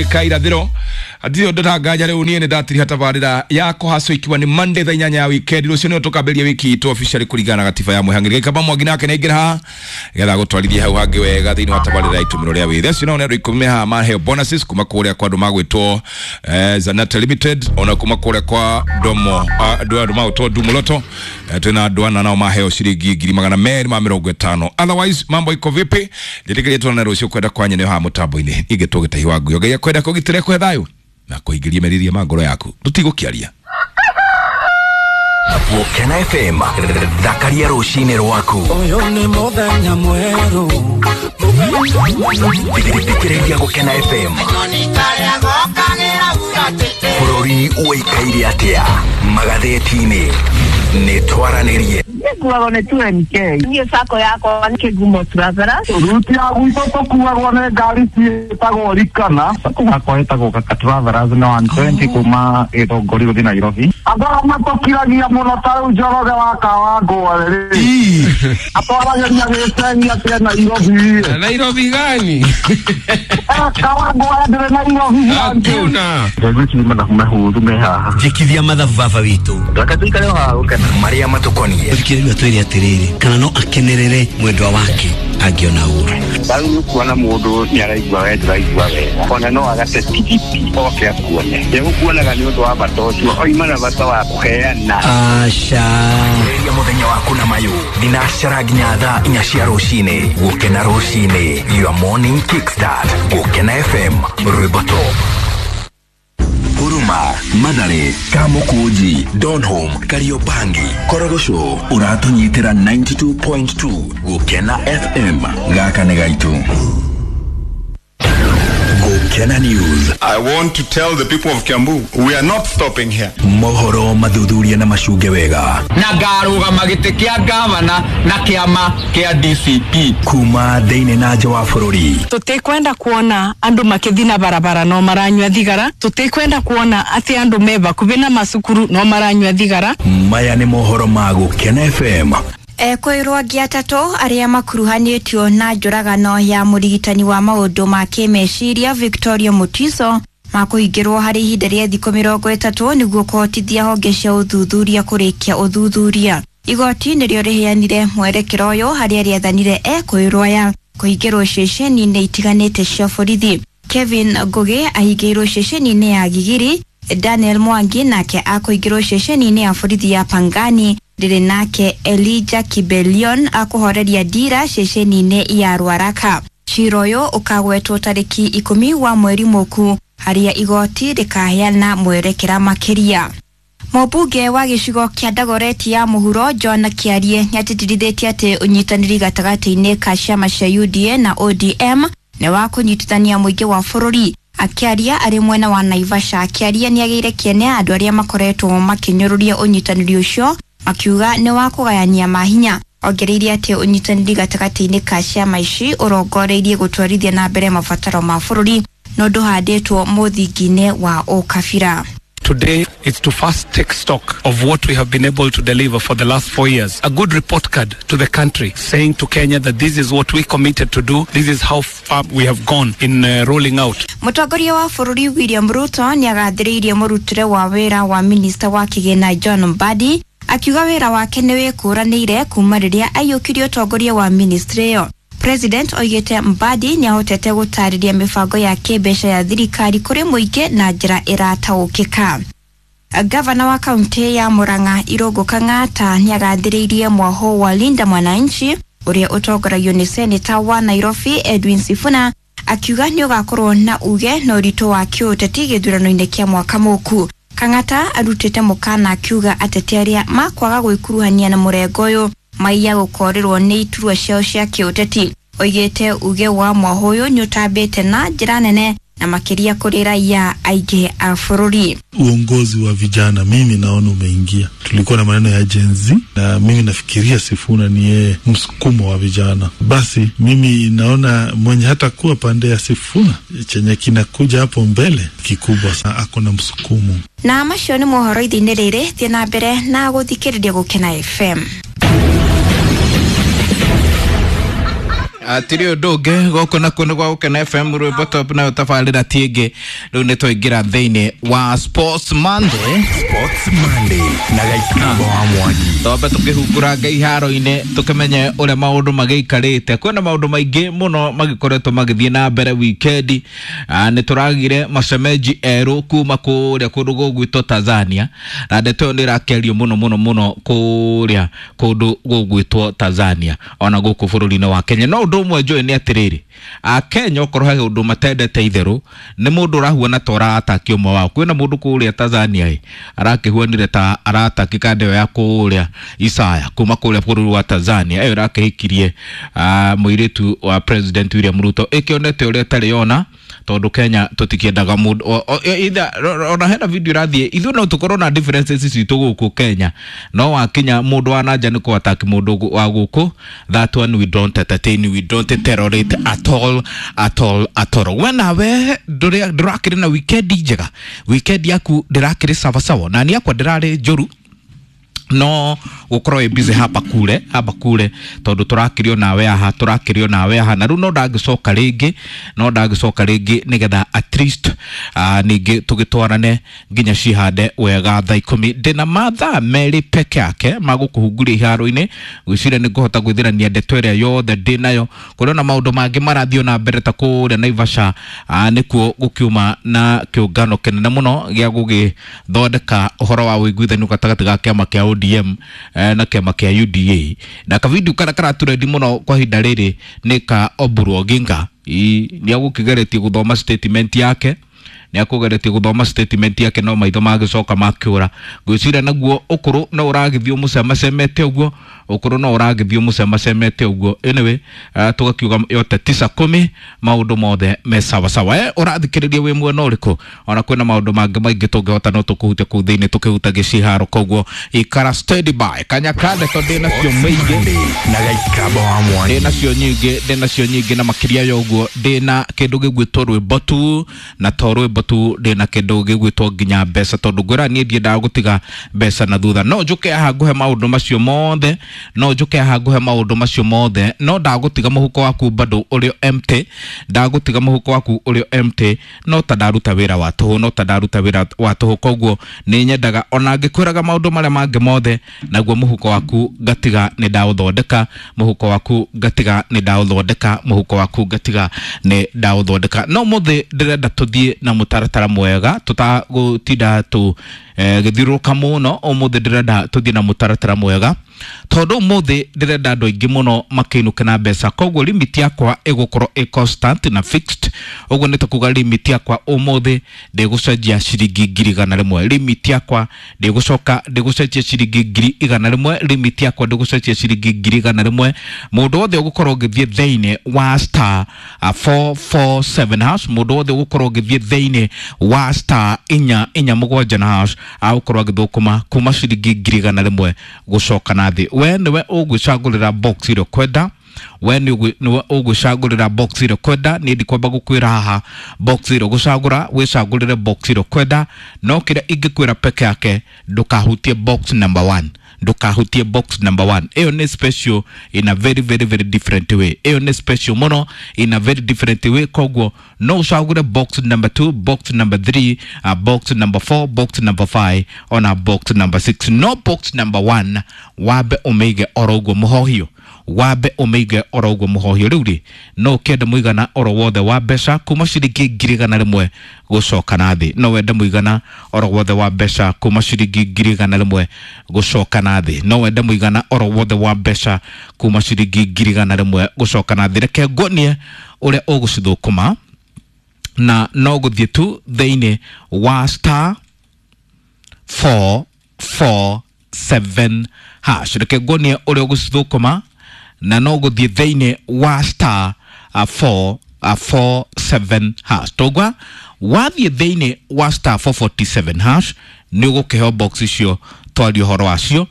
Afrika irathiro hatirĩ ũndũ tanganja rĩu niĩ nĩ ndatiriha tabarĩra ya kũhacwo ikiwa nĩ Monday thaa 8 ya weekend. Rũciũ nĩyo tũkambĩrĩria wiki itũ officially kũringana na gatiba ya mwĩhang'ĩri. Gĩkamba Mwangi nake nĩaingĩra haha nĩgetha gũtwarithia hau hangĩ wega thĩinĩ wa tabarĩra ya itũmĩro rĩa wĩthĩ. Acio nao nĩ andũ 10 me haha maheo bonuses kuma kũrĩa kwa andũ magwĩtwo Zanata Limited, ona kuma kũrĩa kwa Domo andũ magwĩtwo Dumoloto. Twĩna andũ ana nao maheo ciringi 250,000. Otherwise mambo iko vipi? Njĩtĩkĩrie tuonane rũciũ kwenda kwa nyene haha mũtambo-inĩ. Ingĩtwo Gĩtahi wa Nguyo. Ngai akwenda kũgitĩra kũhe thayũ na kũingĩria meriria ma ngoro yaku. Tũtigũkĩaria. Gũkena FM, thakaria rũcinĩ rwaku. Ũyũ nĩ mũthenya mwerũ. Thikĩrĩria Gũkena FM. Bũrũri ũikaire atĩa magathĩti-inĩ? Nĩ twaranĩrie. Nĩkuagwo nĩ 2NK. Niĩ sacco yakwa nĩ Kĩgumo Travelers. Ruti ya gwitũ tũkuagwo nĩ ngari ciĩtagwo Rikana. Sacco yakwa ĩtagwo Kaka Travelers na 120 kuma Gĩthũngũri gũthiĩ Nairobi. Andũ arĩa matũkiragia mũno ta rĩu Njoroge wa Kawangware rĩ, atwaragĩria gĩcegi atĩ Nairobi. Nairobi gani? Kawangware ndĩrĩ Nairobi. Hakuna. Ngwĩciria mathabu mehũthũ me haha. Njĩkithia mathabu baba witũ. Reke tũikare o haha Gũkena. Marĩa matũkoniĩ. Thikĩrĩria twĩre atĩrĩrĩ, kana no akenerere mwendwa wake angĩona ũru. Rĩu nĩ ũkuona mũndũ nĩ araigua we ndũraigua wega, ona no agate tigiti oke akuone. Ndegũkuonaga nĩ ũndũ wa bata ũcio, oima na bata wa kũheana. Aca. Ambĩrĩria mũthenya waku na mayũ thinacara nginya thaa 4 cia rũcinĩ. Gũkena rũcinĩ, your morning kickstart. Gũkena FM, rwĩmbo top. Huruma, Mathare, Kamukunji, Donholm, Kariobangi, Korogocho, ũratũnyitĩra 92.2 Gũkena FM. Gaka nĩ gaitũ. Gũkena News. I want to tell the people of Kiambu, we are not stopping here. Mohoro mathuthuria na macunge wega. Na ngarũgama gĩtĩ kĩa gavana na kĩama kĩa DCP. Kuma thĩinĩ na nja wa bũrũri. Tũtikwenda kuona andũ makĩthiĩ na barabara no maranyua thigara. Tũtikwenda kuona atĩ andũ me bakuhĩ na macukuru no maranyua thigara. Maya nĩ mohoro ma Gũkena FM. Ekũĩrwo angĩ atatũ arĩa makuruhanĩtio na njũragano ya mũrigitani wa maũndũ ma kĩmeciria Victoria Mutiso makũhingĩrwo harĩ ihinda rĩa thikũ 30 nĩguo kũhotithia honge cia ũthuthuria kũrĩkia ũthuthuria. Igoti nĩrĩo rĩheanire mwerekero ũyũ harĩa rĩathanire ekũĩrwo aya kũhingĩrwo ceceni-inĩ itiganĩte cia borithi. Kevin Ngugi ahingĩirwo ceceni-inĩ ya Gigiri, Daniel Mwangi nake akũhingĩrwo ceceni-inĩ ya borithi ya Pangani, rĩrĩ nake Elijah Kibelion akũhoreria ndira ceceni-inĩ ya Ruaraka. Cira ũyũ ũkagwetwo tarĩki 10 wa mweri mũku harĩa igoti rĩkaheana mwerekera makĩria. Mũmbunge wa gĩcigo kĩa Dagoretti ya mũhuro John Kĩarie nĩatĩtĩrithĩtie atĩ ũnyitanĩri gatagatĩ-inĩ ka ciama cia UDA na ODM nĩ wa kũnyitithania mũingĩ wa bũrũri. Akĩaria arĩ mwena wa Naivasha, Kĩarie nĩagĩire kĩene andũ arĩa makoretwo makĩnyũrũria ũnyitanĩri ũcio makiuga nĩ wa kũgayania mahinya. Ongereire atĩ ũnyitanĩri gatagatĩ-inĩ ka ciama ici ũrongoreirie gũtwarithia na mbere mabataro ma bũrũri na ndũhandĩtwo mũthingi-inĩ wa ũkabira. Today is to first take stock of what we have been able to deliver for the last 4 years. A good report card to the country saying to Kenya that this is what we committed to do, this is how far we have gone in rolling out. Mũtongoria wa bũrũri William Ruto nĩagathĩrĩirie mũrutĩre wa wĩra wa minista wa kĩgĩna John Mbadi akiuga wĩra wake nĩ wĩkũranĩire kuma rĩrĩa aiyũkirie ũtongoria wa ministry ĩyo. President oigĩte Mbadi nĩahotete gũtarĩria mĩbango ya kĩmbeca ya thirikari kũrĩ mũingĩ na njĩra ĩrataũkĩka. Gavana wa kaunti ya Murang'a Irũngũ Kang'ata nĩagathĩrĩirie mwaho wa Linda Mwananchi ũrĩa ũtongoragio nĩ seneta wa Nairobi Edwin Sifuna akiuga nĩũgakorwo na uge na ũritũ wa kĩũteti gĩthurano-inĩ kĩa mwaka mũku. Kang'ata arutĩte mũkana akiuga ateti arĩa makwaga gwĩkuruhania na mũrengo ũyũ maiya gũkorĩrwo nĩ iturwa ciao cia kĩũteti. Oigĩte uge wa mwaho ũyũ nĩũtambĩte na njĩra nene na makĩria kũrĩ raia aingĩ a bũrũri. Uongozi wa vijana mimi naona umeingia. Tulikuwa na maneno ya Gen Z na mimi nafikiria Sifuna ni yeye msukumo wa vijana. Basi mimi naona mwenye hata kuwa pande ya Sifuna chenye kinakuja hapo mbele kikubwa sana, ako na msukumo. Na macio nĩ mohoro ithe-inĩ rĩrĩ, thiĩ na mbere na gũthikĩrĩria Gũkena FM. Atiri ũndũ ũngĩ gũkũ nakuo nĩ gwa Gũkena FM rwĩmbo top nayo tabarĩra ti ĩngĩ. Rĩu nĩ twaingĩra thĩinĩ wa Sports Monday. Sports Monday na Gaikarabo wa Mwangi. Twambe tũkĩhunguranga iharo-inĩ tũkĩmenye ũrĩa maũndũ magĩikarĩte. Kwĩna maũndũ maingĩ mũno magĩkoretwo magĩthiĩ na mbere wikendi. Nĩ tũragire macemenji erũ kuma kũrĩa kũndũ gũgwĩtwo Tanzania, na ndeto ĩyo nĩ ĩrakĩario mũno mũno mũno kũrĩa kũndũ gũgwĩtwo Tanzania ona gũkũ bũrũri-inĩ wa Kenya. No ũndũ ũmwe njũĩ nĩ atĩrĩrĩ, Akenya okorwo he ũndũ matendete itherũ nĩ mũndũ ũrahuana ta ũrataki ũmwe wao. Kwĩna mũndũ kũrĩa Tanzania ĩ arakĩhuanire ta arataki kanda ĩyo ya kũrĩa Isaya kuma kũrĩa bũrũri wa Tanzania ĩyo ĩrakĩhikirie mũirĩtu wa President William Ruto, ĩkĩonete ũrĩa ĩtarĩ yona tondũ Kenya tũtikĩendaga mũndũ either ona hena video ĩrathiĩ ithuĩ no tũkorwo na differences citũ gũkũ Kenya, no wakinya mũndũ wa nanja nĩ kũataki mũndũ wa gũkũ, that one we don't entertain, we don't tolerate at all at all at all. We nawe ndũrakĩrĩ na weekend njega, weekend yaku ndĩrakĩrĩ sawasawa, na niĩ yakwa ndĩrarĩ njũru no gukorwo busy hapa kule tondu turakirio nawe aha turakirio nawe aha na riu no ndangĩcoka rĩngĩ no ndangĩcoka rĩngĩ nigetha at least ningĩ tũgĩtwarane nginya cihande wega thaa 10. Ndĩna mathaa merĩ peke yake magũkũhunguria iharo-inĩ, gwĩciria nĩ ngũhota gwĩthirania ndeto ĩrĩa yothe ndĩnayo. Kũrĩ ona maũndũ mangĩ marathiĩ na mbere ta kũrĩa Naivasha, nĩkuo gũkiuma na kĩũngano kĩnene mũno gĩa gũgĩthondeka ũhoro wa ũiguithanio gatagatĩ ga kĩama kĩa ODM na kĩama kĩa UDA. Na kavidio karĩa karaturendi mũno kwa ihinda rĩrĩ nĩ ka Oburu Oginga. Nĩ agũkĩgeretie gũthoma statement yake, nĩ akũgeretie gũthoma statement yake no maitho magĩcoka makĩũra. Ngwĩciria naguo ũkũrũ no ũragĩthiĩ ũmũcemacemete ũguo, ũkũrũ no ũragĩthiĩ ũmũcemacemete ũguo. Anyway, tũgakiuga yote 9 10 maũndũ mothe me sawa sawa. Ũrathikĩrĩria wĩ mwena ũrĩkũ? Ona kwĩna maũndũ mangĩ maingĩ tũngĩhota no tũkũhutia kũu thĩinĩ tũkĩhutagia ciharo, koguo ikara steady by kanyaka ndeto ndĩnacio maingĩ na Gaikarabo wa Mwangi, ndĩnacio nyingĩ, ndĩnacio nyingĩ na makĩria ya ũguo ndĩna kĩndũ gĩgwĩtwo rwĩmbo tu, na to rwĩmbo tu ndĩna kĩndũ gĩgwĩtwo nginya mbeca, tondũ ngwĩra niĩ ndiendaga gũtiga mbeca na thutha. No njũke haha ngũhe maũndũ macio mothe, no njũke haha ngũhe maũndũ macio mothe, no ndagũtiga mũhuko waku bado ũrĩ empty, ndagũtiga mũhuko waku ũrĩ empty, no ta ndaruta wĩra wa tũhũ, no ta ndaruta wĩra wa tũhũ. Koguo nĩ nyendaga ona ngĩkwĩraga maũndũ marĩa mangĩ mothe, naguo mũhuko waku ngatiga nĩ ndaũthondeka, mũhuko waku ngatiga nĩ ndaũthondeka, mũhuko waku ngatiga nĩ ndaũthondeka. No mũthĩ ndĩrenda tũthiĩ na mũtaratara mwega tũtagũtinda tũ gĩthiũrũrũka mũno. Ũmũthĩ ndĩrenda tũthiĩ na mũtaratara mwega tondũ ũmũthĩ ndĩrenda andũ aingĩ mũno makĩinũke na mbeca, koguo limit yakwa ĩgũkorwo ĩ constant na fixed. Ũguo nĩ ta kuga limit yakwa ũmũthĩ ndĩgũcenjia ciringi 100,000, limit yakwa ndĩgũcoka ndĩgũcenjia ciringi 100,000, limit yakwa ndĩgũcenjia ciringi 100,000. Mũndũ wothe ũgũkorwo ũgĩthiĩ thĩinĩ wa star 447 hash, mũndũ wothe ũgũkorwo ũgĩthiĩ thĩinĩ wa star 447 na hash agũkorwo agĩthũkũma kuma ciringi 100,000 gũcoka na thĩ. We nĩwe ũgwĩcagũrĩra box ĩrĩa ũkwenda, we nĩwe ũgwĩcagũrĩra box ĩrĩa ũkwenda. Niĩ ndikwamba gũkwĩra haha box ĩrĩa ũgũcagũra, wĩcagũrĩre box ĩrĩa ũkwenda, no kĩrĩa ingĩkwĩra peke yake ndũkahutie box number 1, ndũkahutie box number 1. Ĩyo nĩ special in a very very very different way, ĩyo nĩ special mũno in a very different way. Koguo no ũcagũre box number 2, box number 3, box number 4, box number 5 ona box number 6. No box number 1 wambe ũmĩige oro ũguo mũhohio, wambe ũmĩige oro ũguo mũhohio. Rĩu rĩ no ũkĩende mũigana oro wothe wa mbeca kuma ciringi 100,000 gũcoka na thĩ, no wende mũigana oro wothe wa mbeca kuma ciringi 100,000 gũcoka na thĩ, no wende mũigana oro wothe wa mbeca kuma ciringi 100,000 gũcoka na thĩ. Reke nguonie ũrĩa ũgũcithũkũma, na no gũthiĩ tu thĩinĩ wa star 447 hash. Reke nguonie ũrĩa ũgũcithũkũma, na no gũthiĩ thĩinĩ wa star 447 hash. Togwa wathiĩ thĩinĩ wa star 447 hash nĩ ũgũkĩheo box icio twaria ũhoro wacio,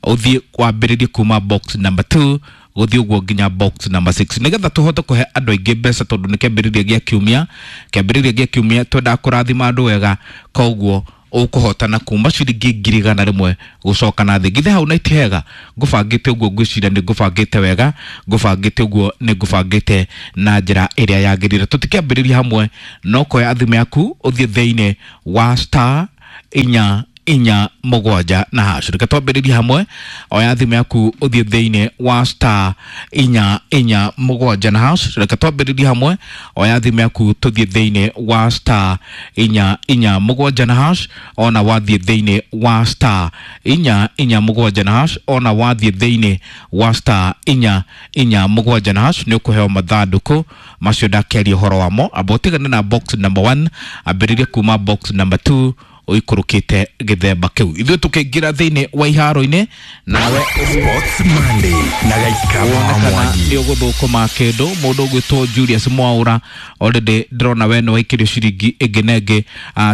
ũthiĩ wambĩrĩrie kuma box number 2 gũthiĩ ũguo nginya box number 6, nĩgetha tũhote kũhe andũ aingĩ mbeca, tondũ nĩ kĩambĩrĩria gĩa kiumia, kĩambĩrĩria gĩa kiumia twendaga kũrathima andũ wega, koguo Ũkũhotana kuma ciringi 100,000 gũcoka na thĩ. Githĩ hau na iti hega? Ngũbangĩte ũguo, ngwĩciria nĩ ngũbangĩte wega, ngũbangĩte ũguo nĩ ngũbangĩte na njĩra ĩrĩa yagĩrĩire. Tũtikĩambĩrĩria hamwe, no koya thimũ yaku ũthiĩ thĩinĩ wa star 4 4 7 na hash. Reke twambĩrĩrie hamwe, oya thimũ yaku ũthiĩ thĩinĩ wa star 4 4 7 na hash. Reke twambĩrĩrie hamwe, oya thimũ yaku tũthiĩ thĩinĩ wa star 4 4 7 na hash. Ona wathiĩ thĩinĩ wa star 4 4 7 na hash, ona wathiĩ thĩinĩ wa star 4 4 7 na hash, nĩ ũkũheo mathandũkũ macio ndakĩaria ũhoro wamo. Amba ũtigane na box number 1, ambĩrĩrie kuma box number 2 ũikũrũkĩte gĩthemba kĩu. Ithuĩ tũkĩingĩra thĩinĩ wa iharo-inĩ nawe Sports Monday na Gaikaba wa Mwangi. Nĩ ũgũthũkũma kĩndũ. Mũndũ ũgwĩtwo Julius Mwaura already ndĩrona we nĩ waikĩrio ciringi ĩngĩ na ĩngĩ,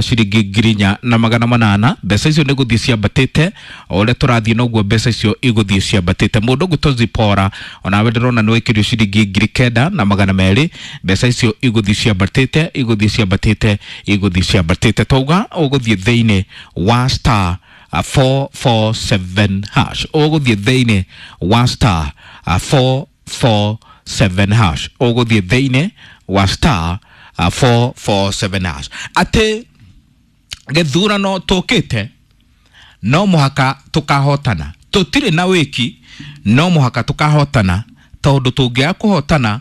ciringi 4,800. Mbeca icio nĩ gũthiĩ ciambatĩte o ũrĩa tũrathiĩ, noguo mbeca icio igũthiĩ ciambatĩte. Mũndũ ũgwĩtwo Zipora onawe ndĩrona nĩ waikĩrio ciringi 9,200. Mbeca icio igũthiĩ ciambatĩte, igũthiĩ ciambatĩte, igũthiĩ ciambatĩte. Twauga ũgũthiĩ thĩinĩ wa star 447 hash, ũgũthiĩ thĩinĩ wa star 447 hash, ũgũthiĩ thĩinĩ wa star 447 hash. Atĩ gĩthurano tũkĩte no mũhaka tũkahotana, tũtirĩ na wĩki, no mũhaka tũkahotana, tondũ tũngĩaga kũhotana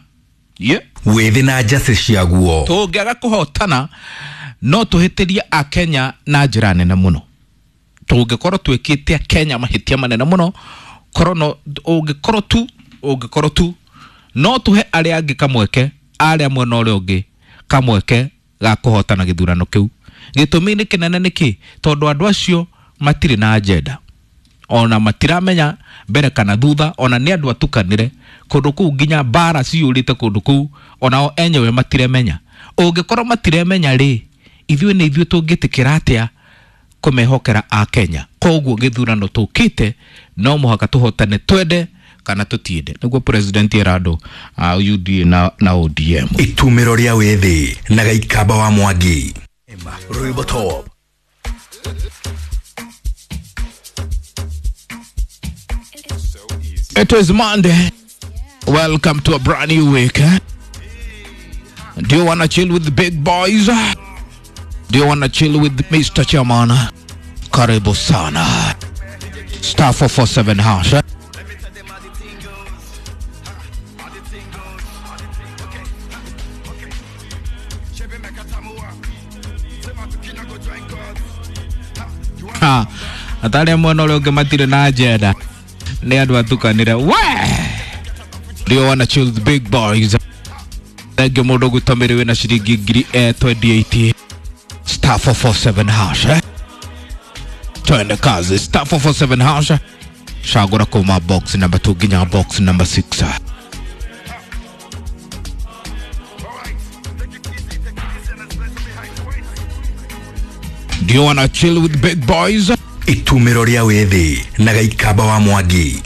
wĩthĩ na njacĩ ciaguo, tũngĩaga kũhotana no tũhĩtĩrie Akenya na njĩra nene mũno. Tũngĩkorwo twĩkĩte Akenya mahĩtia manene mũno, korwo ũngĩkorwo tu no tũhe arĩa angĩ kamweke, arĩa mwena ũrĩa ũngĩ kamweke ga kũhotana gĩthurano kĩu. Gĩtũmi nĩ kĩnene nĩkĩ? Tondũ andũ acio matirĩ na agenda, ona matiramenya mbere kana thutha, ona nĩ andũ atukanĩre kũndũ kũu, nginya mbara ciyũrĩte kũndũ kũu, onao enyewe matiremenya. Ũngĩkorwo matiremenya rĩ, ithuĩ nĩ ithuĩ tũngĩtĩkĩra atĩa kũmehokera Akenya? Koguo gĩthurano tũkĩte no mũhaka tũhotane, twende kana tũtiende, nĩguo president era andũ a UDA na ODM. Itumĩro rĩa wĩthĩ na Gaikaba wa Mwangi. Rwĩmbo Top. It is Monday. Welcome to a brand new week. Do you wanna chill with the big boys? Do you wanna chill with Mr. Chairman? Karibu sana. Star 447 hash. Ha, atarĩa mwena ũrĩa ũngĩ matirĩ na agenda, nĩ andũ atukanĩre. We! Do you wanna chill with the big boys? Thank you mũndũ gũtamĩrĩ wĩna ciringi 28,000. Star 447 hash. Twende kazi. Star 447 hash. Shagura kuma box number 2 ginya box number 6. Do you wanna chill with big boys? Itumĩro rĩa wĩthĩ na Gaikaba wa Mwangi.